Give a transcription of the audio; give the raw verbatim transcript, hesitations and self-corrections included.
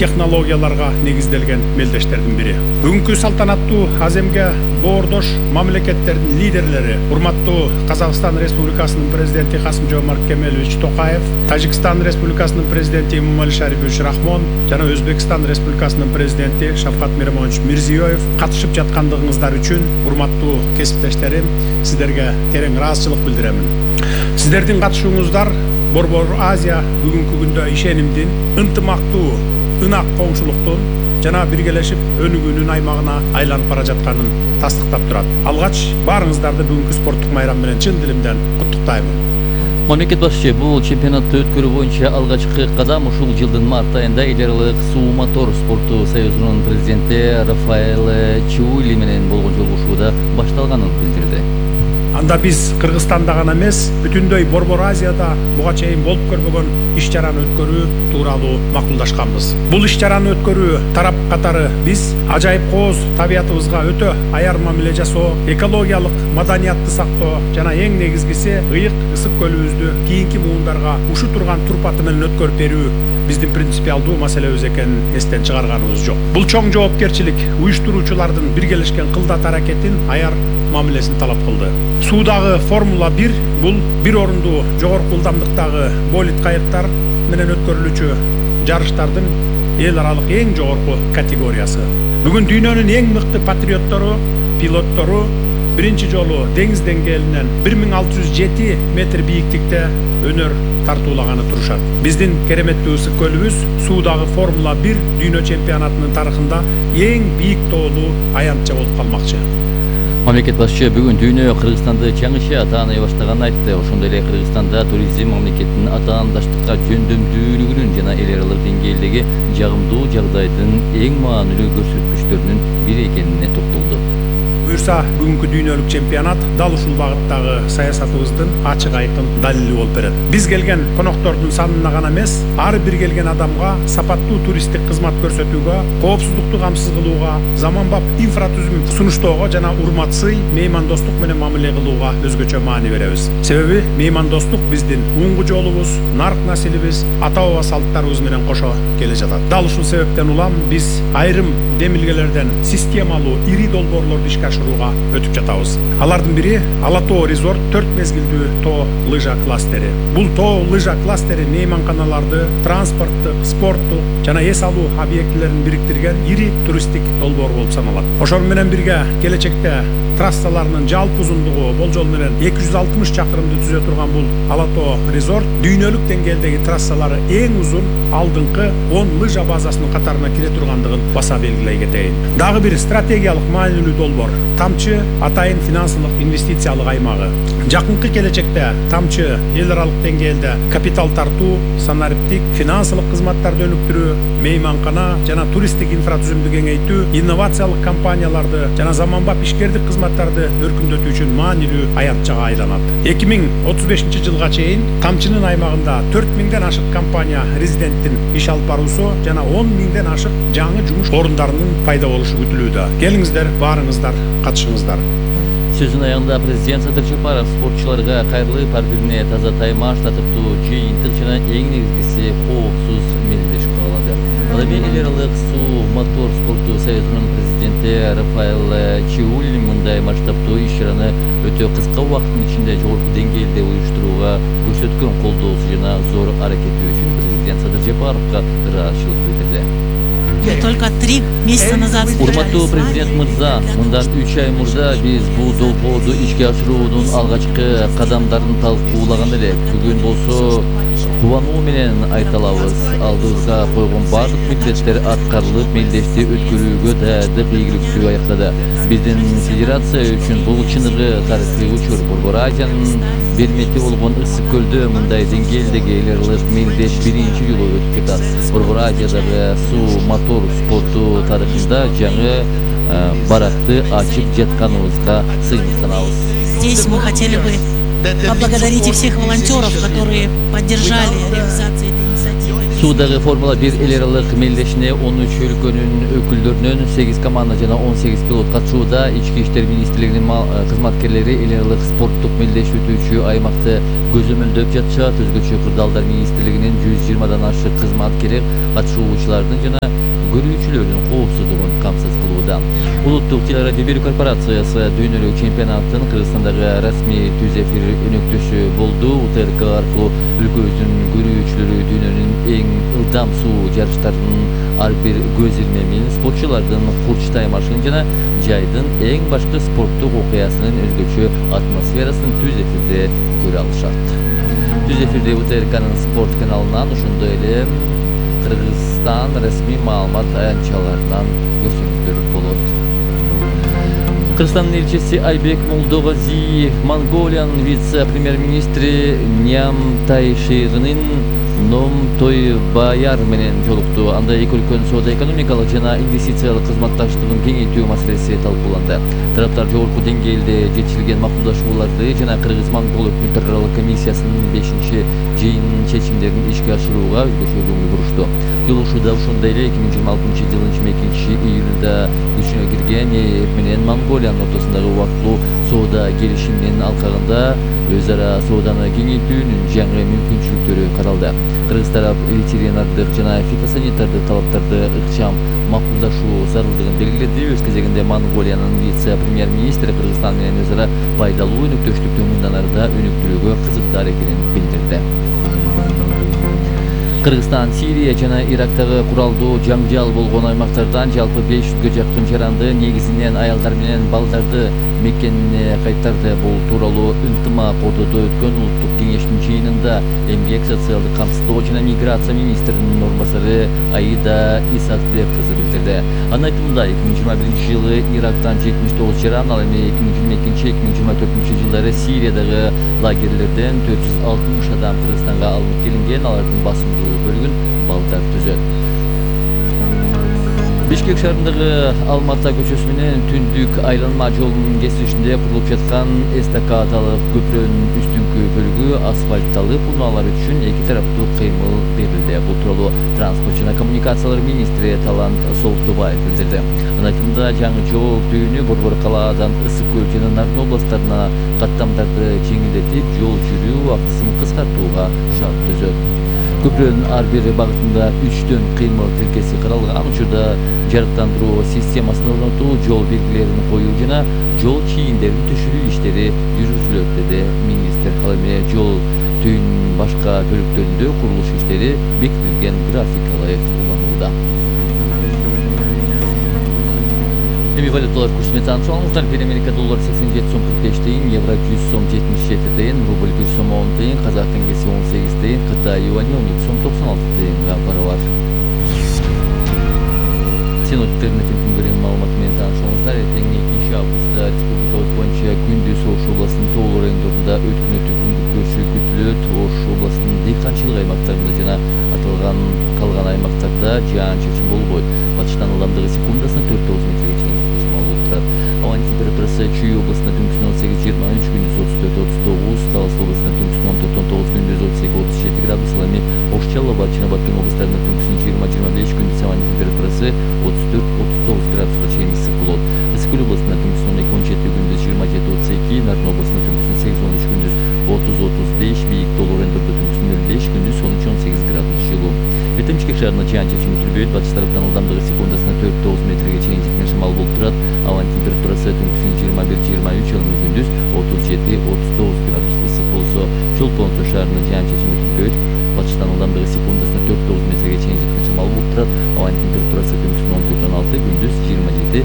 технологияларга негизделген мелдештердин бири. Бүгүнкү салтанаттуу аземге боордош мамлекеттердин лидерлери, урматтуу Казакстан Республикасынын президенти Касым-Жомарт Кемелович Токаев, Тажикстан Республикасынын президенти Эмомали Шарипович Рахмон жана Өзбекстан Республикасынын президенти Шавкат Миромонович Мирзиёев катышып жаткандыгыңыздар үчүн, урматтуу кесиптештерим, сиздерге терең ыраазычылык билдиремин. Сиздердин катышууңуздар Борбор Азия бүгүнкү күндө ишенимдин, ынтымактуу, ынак коңшулуктун жана биргелешип өнүгүүнүн аймагына айланып бара жатканын тастыктап турат. Алгач баарыңыздарды бүгүнкү спорттук майрам менен чын дилимден куттуктаймын. Мамлекет башчы бул чемпионатты өткөрүү боюнча алгачкы кадам ушул жылдын март айында эл аралык суу мотор спорту союзунун президенти Рафаэль Чиули менен болгон жолугушууда башталганын билдирди. Анда биз Кыргызстанда гана эмес, бүтүндөй Борбор Азияда буга чейин болуп көрбөгөн иш-чараны өткөрүү тууралуу макулдашканбыз. Бул иш-чараны өткөрүү тарап катары биз ажайып кооз табиятыбызга өтө аяр мамиле жасоо, экологиялык маданиятты сактоо жана эң негизгиси ыйык ысык көлүбүздү кийинки муундарга ушу турган турпаты менен өткөрүп берүү биздин принципиалдуу маселебиз экенин эстен чыгарганыбыз жок. Бул чоң жоопкерчилик уюштуруучулардын биргелешкен кылдат аракетин аяр мамилесин талап кылды. Суудагы Формула бир бул бир орунду жогорку ылдамдыктагы болид кайыктар менен өткөрүлүүчү жарыштардын эл аралык эң жогорку категориясы. Бүгүн дүйнөнүн эң мыкты патриоттору, пилоттору биринчи жолу деңиз деңгээлинен бир миң алты жүз жети метр бийиктикте өнөр тартуулаганы турушат. Биздин кереметтүү ысык көлүбүз суудагы Формула бир дүйнө чемпионатынын тарыхында эң бийик тоолуу аянтча болуп калмакчы. Мамлекет башчы бүгүн дүйнө Кыргызстанды жаңыча тааный баштаганын айтты. Ошондой эле Кыргызстанда туризм мамлекеттин атаандаштыкка жөндөмдүүлүгүнүн жана эл аралык деңгээлдеги жагымдуу жагдайдын эң маанилүү көрсөткүчтөрүнүн бири экенине токтолду. Буюрса, бүгүнкү дүйнөлүк чемпионат дал ушул багыттагы саясатыбыздын ачык айкын далили болуп берет. Биз келген коноктордун санына гана эмес, ар бир келген адамга сапаттуу туристтик кызмат көрсөтүүгө, коопсуздукту камсыз кылууга, заманбап инфратүзүм сунуштоого жана урмат-сый, меймандостук менен мамиле кылууга өзгөчө маани беребиз. Себеби меймандостук биздин уңгу жолубуз, нарк насилибиз, ата-баба салттарыбыз менен кошо келе жатат. Дал ушул себептен улам биз айрым демилгелерден системалуу ири долбоорлорду ишке ашырууга өтүп жатабыз. Алардын бири Ала Тоо резорт төрт мезгилдүү тоо лыжа кластери. Бул тоо лыжа кластери мейманканаларды, транспорттук, спорттук жана эс алуу объектилерин бириктирген ири туристтик долбоор болуп саналат. Ошол менен бирге келечекте трассаларынын жалпы узундугу болжол менен эки жүз алтымыш чакырымды түзө турган бул Ала Тоо резорт дүйнөлүк деңгээлдеги трассалары эң узун алдыңкы он лыжа базасынын катарына кире тургандыгын баса белгилей кетейин. Дагы бир стратегиялык маанилүү долбоор Тамчы атайын финансылык инвестициялык аймагы. Жакынкы келечекте Тамчы эл аралык деңгээлде капитал тартуу, санариптик, финансылык кызматтарды өнүктүрүү, мейманкана жана туристтик инфратүзүмдү кеңейтүү, инновациялык компанияларды жана заманбап ишкердик кызматтарды өркүндөтүү үчүн маанилүү аянтчага айланат. эки миң отуз бешинчи жылга чейин Тамчынын аймагында төрт миңден ашык компания резиденттин иш алып баруусу жана он миңден ашык жаңы жумуш орундарынын пайда болушу күтүлүүдө. Келиңиздер, баарыңыздар катышыңыздар. Сөзүнүн аягында президент Садыр Жапаров спортчуларга кайрылып, ар бирине таза таймаш, татыктуу жыйынтык жана эң негизгиси коопсуз мелдеш каалады. Ала эми эл аралык суу мотор спорту союзунун президенти Рафаэль Чиули мындай масштабтуу иш-чараны өтө кыска убакыттын ичинде жогорку деңгээлде уюштурууга көрсөткөн колдоосу жана зор аракети үчүн президент Садыр Жапаровго ыраазычылык билдирди. Только три месяца назад. Урматтуу президент мырза, мындан үч ай мурда биз бул долбоорду ишке ашыруунун алгачкы кадамдарын талкуулаган элек. Бүгүн болсо кубануу менен айта алабыз. Алдыбызга койгон бардык милдеттер аткарылып, мелдешти өткөрүүгө даярдык ийгиликтүү аяктады. Биздин федерация үчүн бул чыныгы тарыхый учур. Борбор Азиянын бермети болгон ысык көлдө мындай деңгээлдеги эл аралык мелдеш биринчи жолу өтүп жатат. Борбор Азиядагы суу мотор спорту тарыхында жаңы баракты ачып жатканыбызга сыйынтанабыз. Здесь мы хотели бы поблагодарить всех волонтеров, которые поддержали реализацию этой инициативы. Suudагы Формула бир эл аралык мелдешине он үч өлкөнүн өкүлдөрүнөн сегиз команда жана он сегиз пилот катышууда. Ички иштер министрлигинин кызматкерлери эл аралык спорттук мелдеш өтүүчү аймакты көзөмөлдөп жатышат. Өзгөчө Кырдаалдар министрлигинин жүз жыйырмадан ашык кызматкери катышуучулардын жана көрүүчүлөрдүн коопсуздугун камсыз кылууда. Улуттук телерадио берүү корпорациясы дүйнөлүк чемпионаттын Кыргызстандагы расмий түз эфир өнөктөшү болду. УТРК аркылуу өлкөбүздүн көрүүчүлөрү дүйнөнүн эң ылдам суу жарыштарынын ар бир көз ирме менен спортчулардын курч таймашын жана жайдын эң башкы спорттук окуясынын өзгөчө атмосферасын түз эфирде көрө алышат. Түз эфирде УТРКнын спорт каналынан ошондой эле Кыргызстан расмий маалымат аянтчаларынан көрсөңүздөр болот. Кыргызстандын элчиси Айбек Молдогази Монголиянын вице-премьер-министри Нямтайширынын Ном Тойбаяр менен жолукту. Анда эки өлкөнүн соода-экономикалык жана инвестициялык кызматташтыгын кеңейтүү маселеси талкууланды. Тараптар жогорку деңгээлде жетишилген макулдашууларды жана Кыргыз-Монгол өкмөттөр аралык комиссиясынын бешинчи жыйынынын чечимдерин ишке ашырууга өзгөчө көңүл бурушту. Жолугушууда ошондой эле эки миң жыйырма алтынчы жылдын жыйырма экинчи июнунда күчүнө кирген ЭЭ менен Монголиянын ортосундагы убактылуу соода келишиминин алкагында өз ара сооданы кеңейтүүнүн жаңы мүмкүнчүлүктөрү каралды. Кыргыз тарап ветеринардык жана фитосанитардык талаптарды ыкчам макулдашуу зарылдыгын белгиледи. Өз кезегинде Монголиянын вице-премьер-министри Кыргызстан менен өз ара пайдалуу өнөктөштүктү мындан арыда өнүктүрүүгө кызыктар экенин билдирди. Кыргызстан, Сирия жана Ирактагы куралдуу жаңжал болгон аймактардан жалпы беш жүзгө жакын жаранды, негизинен аялдар менен балдарды мекенине кайтарды. Бул тууралуу ынтымак ордодо өткөн улуттук кеңештин жыйынында эмгек, социалдык камсыздоо жана миграция министринин орун басары Аида Исакбек кызы билдирди. Анын айтымында эки миң жыйырма биринчи жылы Ирактан жетимиш тогуз жаран, ал эми эки миң жыйырма экинчи эки миң жыйырма төртүнчү жылдары Сириядагы лагерлерден төрт жүз алтымыш адам Кыргызстанга алынып келинген. Алардын басымдуу бөлүгүн балдар түзөт. Бишкек шаарындагы Алмата көчөсү менен Түндүк айланма жолунун кесилишинде курулуп жаткан эстакадалык көпүрөнүн үстүңкү бөлүгү асфальтталып, унаалар үчүн эки тараптуу кыймыл берилди. Бул тууралуу транспорт жана коммуникациялар министри Талант Солтубаев билдирди. Анын айтымында жаңы жол түйүнү Борбор калаадан Ысык көл жана Нарын областарына каттамдарды жеңилдетип, жол жүрүү убактысын кыскартууга шарт түзөт. Көпүрөнүн ар бир багытында үчтөн кыймыл тилкеси каралган. Учурда жарыктандыруу системасын орнотуу, жол белгилерин коюу жана жол чийиндерин түшүрүү иштери жүргүзүлөт, деди министр. Ал эми жол түйүнүнүн башка бөлүктөрүндө курулуш иштери бекитилген графикалай уланууда. Эми валюталар курсу менен таанышыңыздар. Бир Америка доллары сексен жети сом кырк беш тыйын, евро жүз сом жетимиш жети тыйын, рубль бир сом он тыйын, казак теңгеси он сегиз тыйын, Кытай юани он эки сом токсон алты тыйынга барабар. Синоптиктердин күнгөрүн маалыматы менен таанышыңыздар. Эртең экинчи августта республикабыз боюнча күндүз Ош областынын тоолуу райондорунда өткүнөтүп күнгө көчүү күтүлөт. Ош областынын дыйканчылык аймактарында жана аталган калган аймактарда жаан-чачын болбойт. Батыштан ылдамдыгы секундасына төрт тогуз метрге чейин жетишмалуу турат. Абанын температурасы Чүй областында түнкүсүн он сегиз жыйырма үч, күндүз отуз төрт отуз тогуз, Талас областында түнкүсүн он төрт он тогуз, күндүз отуз эки отуз жети градус. Ал эми Ош, Чаллы, Батчина, Баткен областарында түнкүсүн жыйырма жыйырма беш, күндүз абанын температурасы отуз төрт отуз тогуз градуска чейин ысык болот. Ысык көл областында түнкүсүн он эки он жети, күндүз жыйырма жети отуз эки, Нарын областында түнкүсүн сегиз он үч, күндүз отуз отуз беш, бийик тоолуу райондордо түнкүсүн нөл беш, күндүз он үч он сегиз градус жылуу. Эртең Бишкек шаарында жаан-чачын күтүлбөйт. Батыш тараптан ылдамдыгы секундасына төрт тогуз метрге чейин жеткен шамал болуп турат. Абанын температурасы түнкүсүн жыйырма бир жыйырма үч, ал эми күндүз отуз жети отуз тогуз градус ысык болсо, Чолпон шаарында жаан-чачын күтүлбөйт. Батыштан ылдамдыгы секундасына төрт тогуз метрге чейин жеткен шамал болуп турат. Абанын температурасы түнкүсүн он төрт он алты, күндүз жыйырма жети